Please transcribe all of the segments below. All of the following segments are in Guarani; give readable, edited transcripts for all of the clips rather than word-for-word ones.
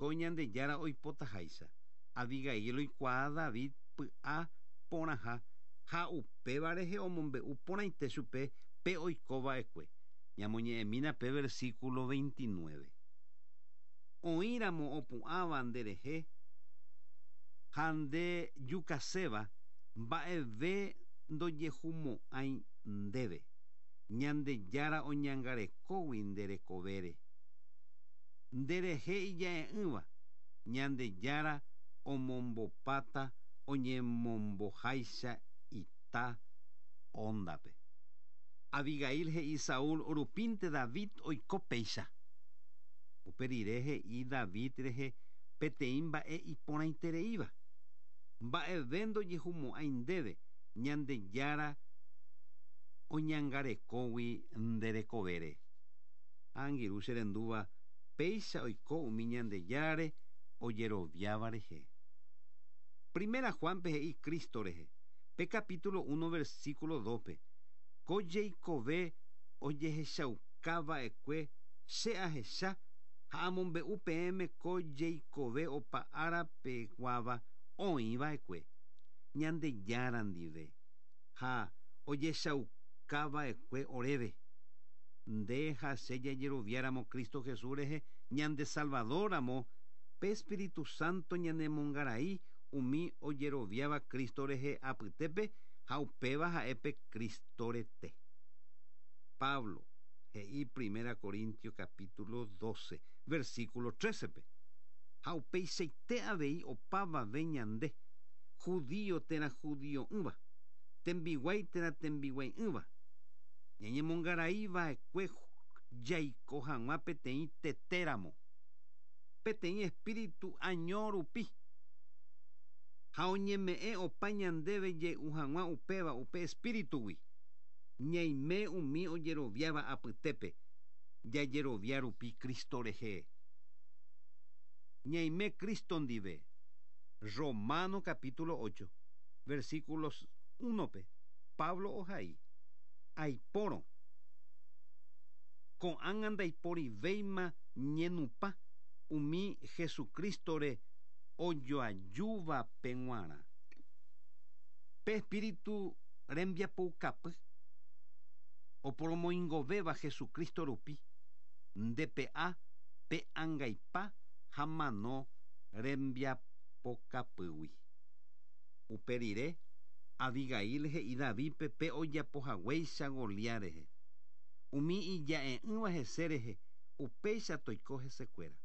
Ko Ñandejára oipotaháicha. Abigail oikuaa David py'a porãha ha upéva rehe omombe'u porãite chupe pe oiko va'ekue. Ñamoñe'ẽmína pe versículo 29. Oĩramo opu'ãva nderehe ha nde jukaséva, mba'eve ndojehumo'ãi ndéve, Ñandejára oñangarekógui nde rekovére. Nderehe ija'e'ỹva, Ñandejára omombopáta oñemomboháicha ita óndape. Abigail he'i Saúl rupínte David oiko péicha. Upe rire he'i David rehe peteĩ mba'e iporãitereíva, Mba'eve ndojehumo'ãi ndéve, Ñandejára oñangarekógui nde rekovére. Ha angirũ che rendúva, péicha oiko umi Ñandejárare ojeroviáva rehe. Primera Juan-pe he'i Cristo rehe, pe capítulo uno versículo dos-pe, Ko jeikove ojehechauka va'ekue che ahecha ha amombe'u peẽme ko jeikove opa ára peguáva oĩ va'ekue Ñandejára ndive ha ojechauka va'ekue oréve. Nde ha che jajeroviáramo Cristo Jesús rehe ñande Salvador ramo, pe Espíritu Santo ñanemongarai umi ojeroviáva Cristo rehe apytépe ha upéva ha'e pe Cristo rete. Pablo he'i Primera Corintios capítulo 12, versículo 13-pe, Ha upeichaite avei opavave ñande, judío térã judio'ỹva, tembiguái térã tembiguai'ỹva, ñañemongarai va'ekue jaiko hag̃ua peteĩ tete ramo, peteĩ espíritu año rupi, ha oñeme'ẽ opa ñandéve jey'u hag̃ua upéva upe espíritugui, ñaime umi ojeroviáva apytépe jajerovia rupi Cristo rehe. Ñaime Cristo ndive. Romano capítulo 8, versículos 1-pe, Pablo ohai, Aipórõ, ko'ág̃a ndaiporivéima ñenupã umi Jesucristo-re ojoajúvape g̃uarã. Pe Espíritu rembiapoukapy oporomoingovéva Jesucristo rupi, nde pe'a pe angaipa ha mano rembiapokapýgui. Upe rire, Abigail he'i Davídpe pe ojapo haguéicha Goliat rehe. Umi ija'e'ỹva hese rehe, upéicha toiko hesekuéra.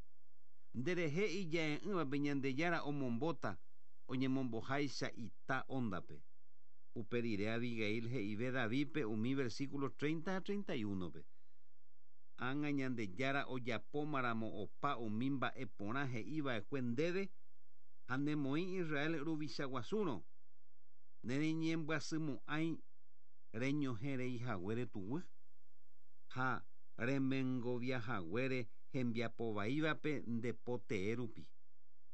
Nderehe ija'e'ỹvape Ñandejára omombóta oñemomboháicha ita óndape. Upe rire Abigail he'ive Davídpe umi versículo 30 ha 31-pe, Ág̃a Ñandejára ojapómaramo opa umi mba'e porã he'i va'ekue ndéve ha nemoĩ Israel ruvicha guasúrõ, nereñembyasymo'ãi reñohẽ rei haguére tuguy, ha remengovia haguére hembiapo vaívape nde po tee rupi.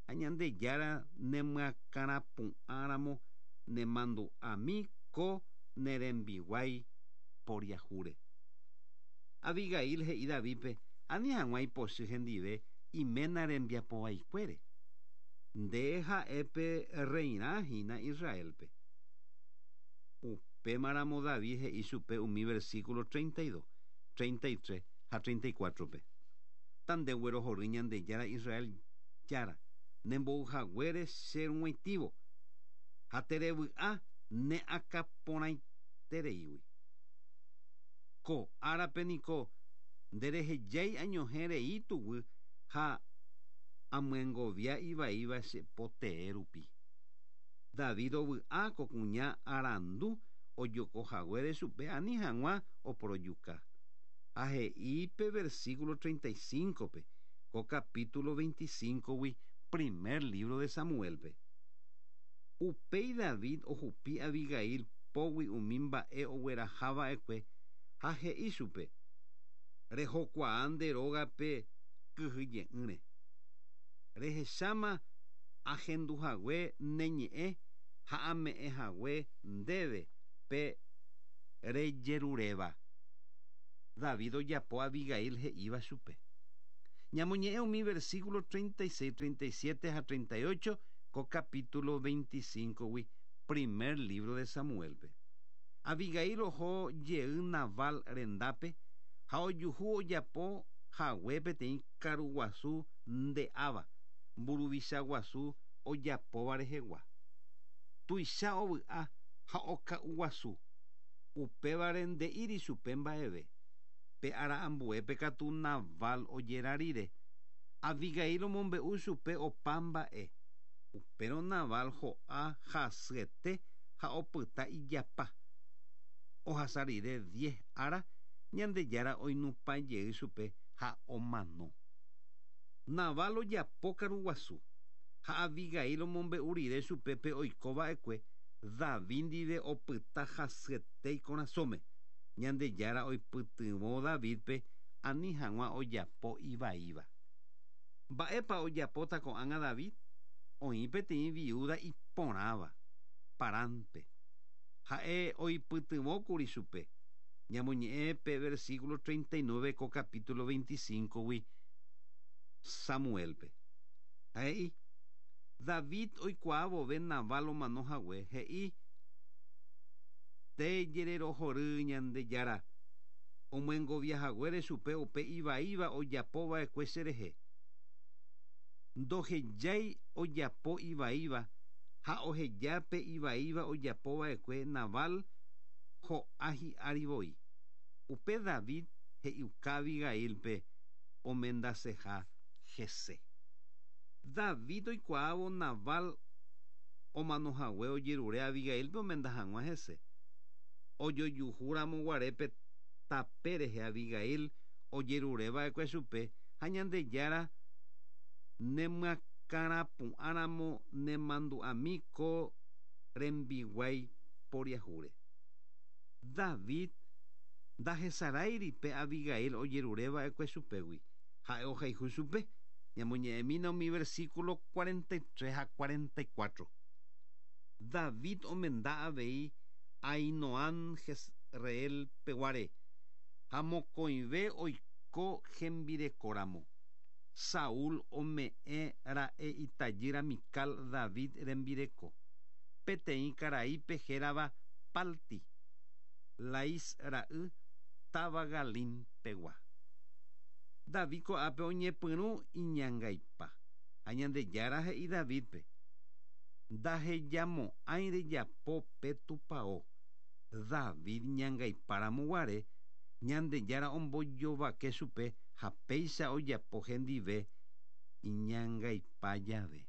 Ha Ñandejára nemyakãrapu'ã ramo nemandu'ami ko ne rembiguái poriahúre. Abigail he'i Davídpe ani hag̃ua ipochy hendive iména rembiapo vaikuére. Nde ha'e pe rreirã hína Israélpe. Upémaramo David he'i chupe umi versículo 32, 33 ha 34-pe, Tandeguerohory Ñandejára Israel Jára, nembou haguére che rug̃uaitĩvo, ha terevy'a ne akã porãitereígui. Ko árape niko nderehejái añohẽ rei tuguy ha amyengovia ivaíva che po tee rupi. David ovy'a ko kuña arandu ojoko haguére chupe ani hag̃ua oporojuka. Ha he'i pe versículo 35-pe ko capítulo 25-gui primer lívro de Samuélpe. Upéi David ohupi Abigail pógui umi mba'e ogueraha va'ekue ha he'i chupe, Rehokuaa nde rógape kyhyje'ỹre. Rehecháma ahendu hague ne ñe'ẽ ha ame'ẽ hague ndéve pe rejeruréva. David ojapo Abigail he'íva chupe. Ñamoñe'ẽ umi versículo 36, 37 ha 38 ko capítulo 25-gui primer libro de Samuel-pe. Abigail oho jey Nabal rendápe ha ojuhu ojapo hague peteĩ karuguasu nde'áva, mburuvicha guasu ojapóva rehegua. Tuicha ovy'a ha oka'uguasu, upévare nde'íri chupe mba'eve. Pe ára ambuépe katu Nabal ojera rire, Abigail omombe'u chupe opa mba'e. Upérõ Nabal ho'a hasyete ha opyta ijapa. Ohasa rire diez ára, Ñandejára oinupã jey chupe ha omano. Nabal ojapo karuguasu, ha Abigail omombe'u rire chupe pe oiko va'ekue, David ndive opyta hasyete ikorasõme. Ñandejára oipytyvõ Davídpe ani hag̃ua ojapo ivaíva. Mba'épa ojapóta ko'ág̃a David? Oĩ peteĩ viúda iporãva, Paránpe. Ha'e oipytyvõkuri chupe. Ñamoñe'ẽ pe versículo 39 ko capítulo 25-gui Samuel-pe. Ha he'i, David oikuaa vove Nabal omano hague, he'i, Tejererohory Ñandejára, omyengovia haguére chupe upe ivaíva ojapo va'ekue cherehe. Ndohejái ojapo ivaíva ha oheja pe ivaíva ojapo va'ekue Nabal ho'a hi'ári voi. Upe David he'iuka Abigail-pe omendaseha hese. David oikuaávo Nabal omano hague ojerure Abigail-pe omenda hag̃ua hese. Ojojuhu ramo guare pe tape rehe Abigail ojerure va'ekue chupe ha Ñandejára nemyakãrapu'ã ramo nemandu'ami ko rembiguái poriahúre. David ndahesaráiri pe Abigail ojerure va'ekue chupégui, ha'e ohayhu chupe. Ñamoñe'ẽmína umi versículo 43 ha 44. David omenda avei Ahinoam Jezreel peguare, ha mokõive oiko hembireko ramo. Saúl ome'ẽ ra'e itajýra Mical David rembireko, peteĩ karaípe hérava Palti, Lais ra'y, táva Galim pegua. David ko'ápe oñepyrũ iñangaipa, ha Ñandejára he'i Davídpe, Ndahejamo'ãi rejapo pe tupao. David ñangaipa ramo guare, Ñandejára ombojovake chupe ha péicha ojapo hendive iñangaipa jave.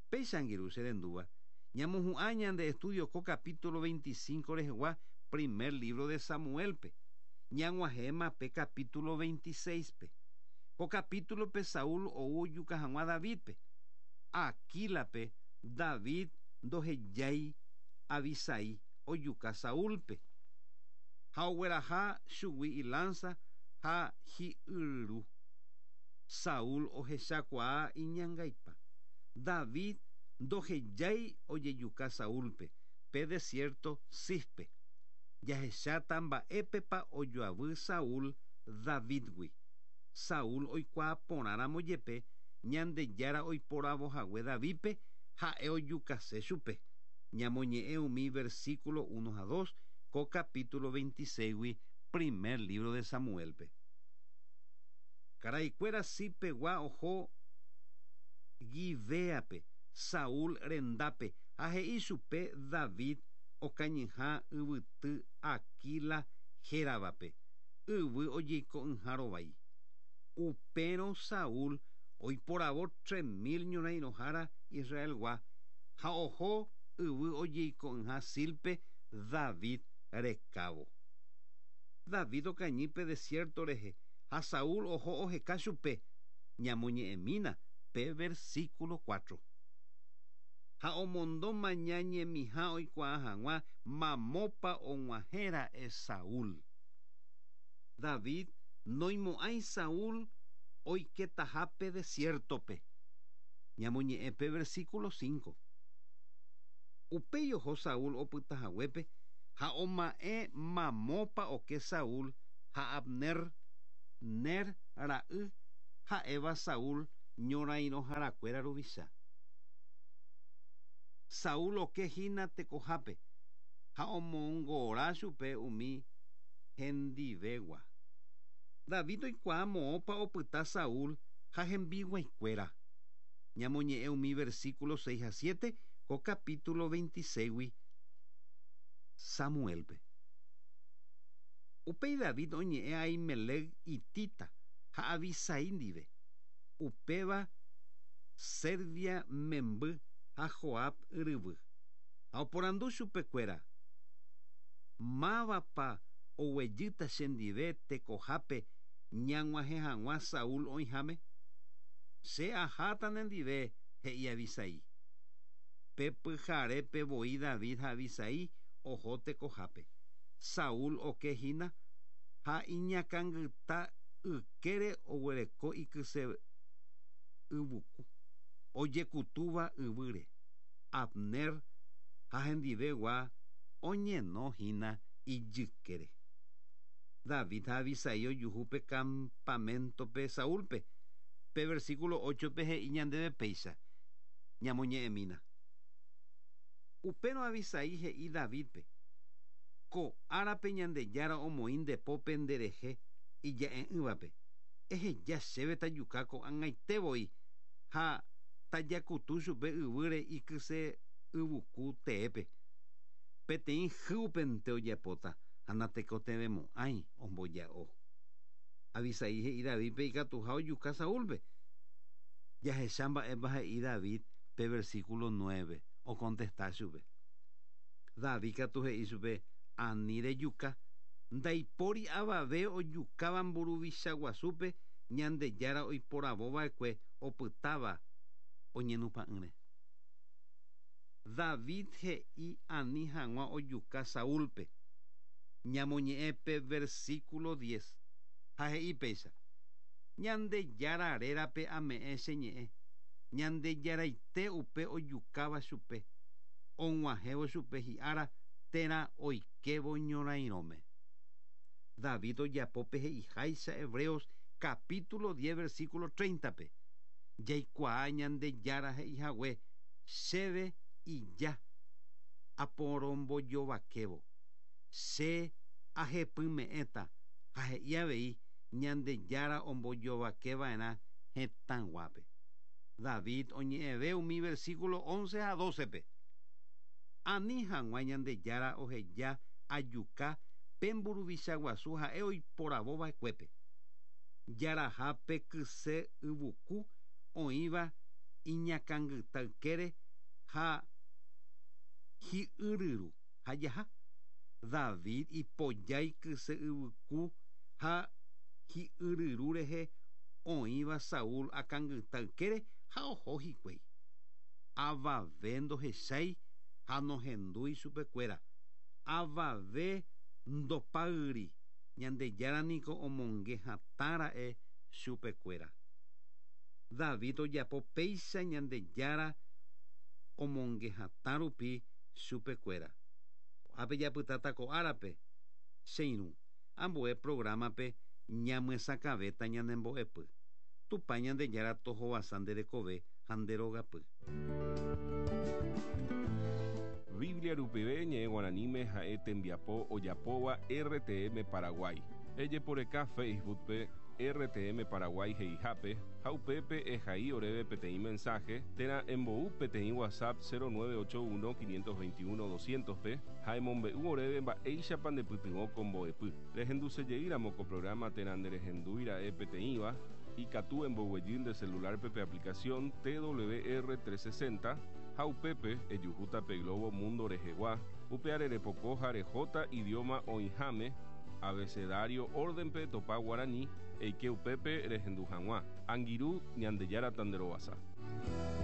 Péicha angirũ che rendúva, ñamohu'ã ñande estudio ko capítulo 25 rehegua primer libro de Samuel-pe. Ñag̃uahẽma pe capítulo 26-pe. Ko capítulo-pe Saúl ou ojuka hag̃ua Davídpe. Aquílape David ndohejái Abisai ojuka Saúlpe, ha ogueraha chugui ilánsa ha hi'yryru. Saúl ohechakuaa iñangaipa. David ndohejái ojejuka Saúlpe pe desiérto Zifpe. Jahecháta mba'épepa ojoavy Saúl Davídgui. Saúl oikuaa porãramo jepe Ñandejára oiporavo hague Davídpe, ha'e ojukase chupe. Ñamoñe'ẽ umi versículo uno ha dos ko capítulo 26-gui primer libro de Samuel-pe. Karaikuéra Zif-pegua oho Gibeápe, Saúl rendápe, ha he'i chupe David okañyha yvyty Aquila héravape, yvy ojeiko'ỹha rovái. Upérõ Saúl oiporavo 3000 ñorãirõhára Israelgua ha oho yvy ojeiko'ỹha Zílpe David rekávo. David okañy pe desiérto rehe ha Saúl oho oheka chupe, ñamoñe'ẽmína pe versículo 4. Ha omondo maña ñemiha oikuaa hag̃ua mamópa og̃uahẽ ra'e Saúl. David noimo'ãi Saúl oiketaha pe desiértope. Ñamoñe'ẽ pe versículo 5. Upéi oho Saúl opyta haguépe ha oma'ẽ mamópa oke Saúl ha Abner, Ner ra'y, ha'éva Saúl ñorairõharakuéra ruvicha. Saúl oke hína tekohápe ha omongora chupe umi hendivegua. David oikuaa moõpa opyta Saúl ha hembiguaikuéra. Ñamoñe'ẽ umi versículo 6 ha 7 ko capítulo 26-gui Samuelpe. Upéi David oñe'ẽ Ahimelec hitita ha Abisai ndive, upéva Servia memby ha Joab ryvy. Ha oporandu chupekuéra, Mávapa oguejýta chendive tekohápe ñag̃uahẽ hag̃ua Saúl oĩháme? Che aháta nendive, he'i Abisai. Pe pyharépe voi David ha Abisai oho tekohápe. Saúl oke hína ha iñakãngyta ykére oguereko ikyse yvuku, ojekutúva yvýre. Abner ha hendivegua oñeno hína ijykére. David ha Abisai ojuhu pe kampaméntope Saúlpe. Pe versíkulo óchope he'i ñandéve péicha, Ñamoñe'ẽmína. Upérõ Abisai he'i Davídpe, Ko árape Ñandejára omoĩ nde pópe nderehe ija'e'ỹvape. Eheja chéve tajuka ko'ag̃aite voi ha tajakutu chupe yvýre ikyse yvuku teépe. Peteĩ hýupente ojapóta ha natekotevẽmo'ãi omboja'o. Abisai he'i Davídpe ikatuha ojuka Saúlpe. Jahecha mba'épa he'i David pe versíkulo nuéve, okontesta chupe. David katu he'i chupe, Ani rejuka. Ndaipóri avave ojukáva mburuvicha guasúpe Ñandejára oiporavo va'ekue opytáva oñenupã'ỹre. David he'i ani hag̃ua ojuka Saúlpe. Ñamoñe'ẽ pe versíkulo diez, ha he'i péicha, Ñandejára rérape ame'ẽ che ñe'ẽ, Ñandejaraite upe ojukáva chupe, og̃uahẽvo chupe hi'ára térã oikévo ñorairõme. David ojapo pe he'iháicha Hebreos capítulo diez versículo treinta-pe, Jaikuaa Ñandejára he'ihague chéve ija aporombojovakévo, che ahepyme'ẽta ha he'i avei Ñandejára ombojovakeva'erã hetãguápe. David oñe'ẽve umi versículo once ha dócepe, Ani hag̃ua Ñandejára oheja ajuka pe mburuvicha guasu ha'e oiporavo va'ekuépe. Jaraha pe kyse yvuku oĩva iñakãngyta ykére ha hi'yryru ha jaha. David ipojái kyse yvyku ha hi'yryru rehe oĩva Saúl akãngyta ykére ha oho hikuái. Avave ndohechái ha nohendúi chupekuéra. Avave ndopáyri, Ñandejára niko omonge hatã ra'e chupekuéra. David ojapo péicha Ñandejára omonge hatã rupi chupekuéra. Ko'ápe japytáta ko árape, che irũ, ambue programa-pe ñamyesakãvéta ñane mbo'epy. Tupã Ñandejára tohovasa nde rekove ha nde rogapy. Biblia rupive ñe'ẽ guaraníme ha'e tembiapo ojapóva RTM Paraguay. Ejeporeka Facebook-pe RTM Paraguay he'ihápe ha upépe ehai oréve peteĩ mensaje térã embou peteĩ WhatsApp 0981 521 200-pe ha emombe'u oréve mba'éichapa ndepytyvõ ko mbo'epy. Rehendusejeýramo ko programa térã nderehendúi ra'e peteĩva, ikatu emboguejy nde celular-pe pe aplicación TWR 360 ha upépe ejuhúta pe globo mundo rehegua, upeare repoko ha rehóta idioma oĩháme, abecedario orden-pe etopa guarani, eike upépe rehendu hag̃ua. Angirũ, Ñandejára tanderovasa.